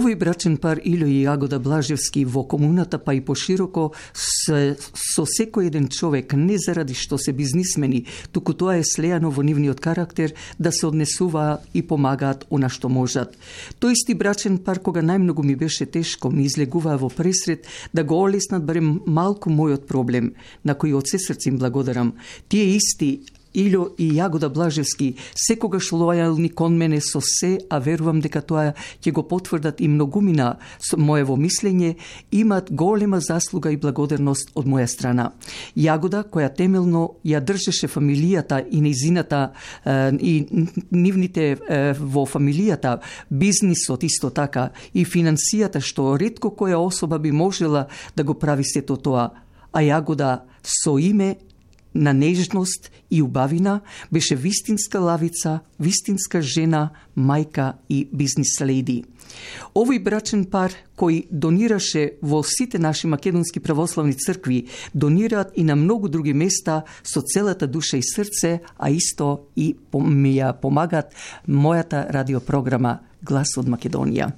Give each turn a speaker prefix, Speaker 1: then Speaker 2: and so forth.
Speaker 1: Овој брачен пар Илјо и Јагода Блажевски во комуната, па и пошироко, со секој еден човек, не заради што се бизнисмени, туку тоа е слејано во нивниот карактер да се однесуваат и помагаат она што можат. Тој исти брачен пар, кога најмногу ми беше тешко, ми излегуваа во пресред да го олеснат барем малку мојот проблем, на кој од се срце им благодарам. Тие исти Илјо и Јагода Блажевски секогаш лојални кон мене со се, а верувам дека тоа ќе го потврдат и многумина со моево мислење, имат голема заслуга и благодарност од моја страна. Јагода, која темелно ја држеше фамилијата и нејзината и нивните во фамилијата, бизнисот исто така и финансијата, што ретко која особа би можела да го прави сето тоа, а Јагода со име на нежност и убавина беше вистинска лавица, вистинска жена, мајка и бизнис леди. Овој брачен пар кој донираше во сите наши македонски православни цркви, донираат и на многу други места со целата душа и срце, а исто и ми ја помагаат мојата радиопрограма Глас од Македонија.